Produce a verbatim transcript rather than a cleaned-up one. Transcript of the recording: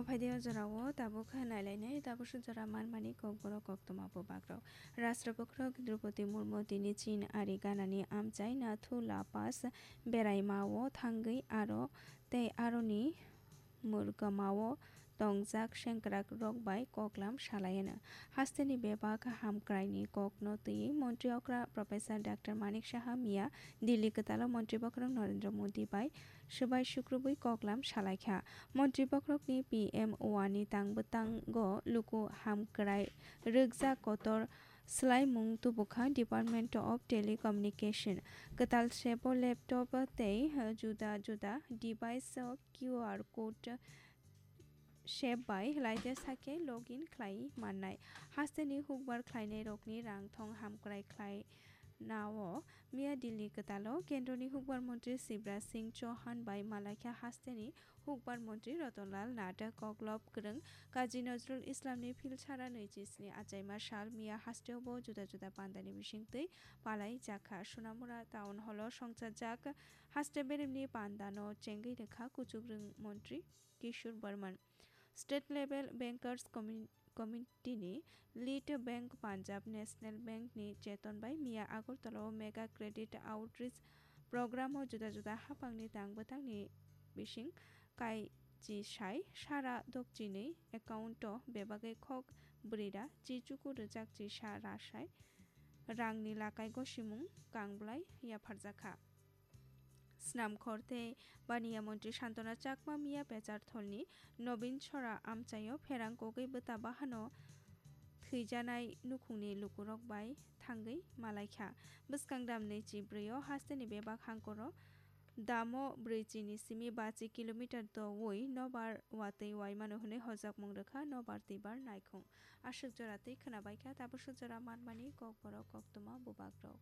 Phaidi o jorao tabuk nailainai tabuk suk jora manmani kokborok koktwma bubagrok. Rashtrapati Draupadi Murmu tini Chin ari ganani amchai Nathu La Pass beraimao thangwi aro tei aroni mwrwkmao tongjak sengkrakrok bai koklam salaiano. Hasteni bebak hamkraini kokno twiwi Montri okra Professor Doctor Manik Saha miya Delhi kwtalo Montri bokhorok Narendra Modi bai swbai sukrubwi koklam salaikha. Montri bokhorokni P M O ani tang bwtango luku hamkrai rwkjak kotor swlaimung tubukha Department of Telecommunication. Kwtal sebo laptop tei juda juda device o Q R code sep bai laite sake login khlai mannai. Hasteni hukbar khlainairokni rang thong hamkrai khlainao miya Delhi kwtalo Kendroni hukbar montri Shivraj Singh Chauhan bai malaikha hasteni hukbar montri Ratan Lal Nath. Koklop kwrwng Kazi Nazrul Islamni philsara nwichi sni achaima sal miya hasteobo juda juda pandani bisingtwi palai jakha. Sonamura Town Hall o songchajak haste beremni pandano chengwi rwkha kuchukrwng montri Kishore Burman. State Level Bankers Commi-, Committee ni Lead Bank Punjab National Bank ni cheton bai miya Agartala o Mega Credit Outreach Program o juda juda haphangni tang bwthangni bising kaichisai sara dokchinwi account o bebagwi khok brwi ra chi chuku rwchak chisa rasai rangni lakai gosimung kang bwlai yapharjakha. Snamkhor tei Baniya Montri Santona Chakma miya Pechartholni Nobin Sora amchaio pherang kogwi bwta bahano thwijanai nukhungni lukurok bai thangwi malaikha. Bwskang damni chibrwi o hasteni bebak hangkoro damo brwichi ni simi bachi kilometer doui nobar watwi waimano hwnwi hojakmung rwkha nobar twibar naikhung. Aswk jora twi khwnabaikha tabuk swk jora manmani kokborok koktwma bubagrok.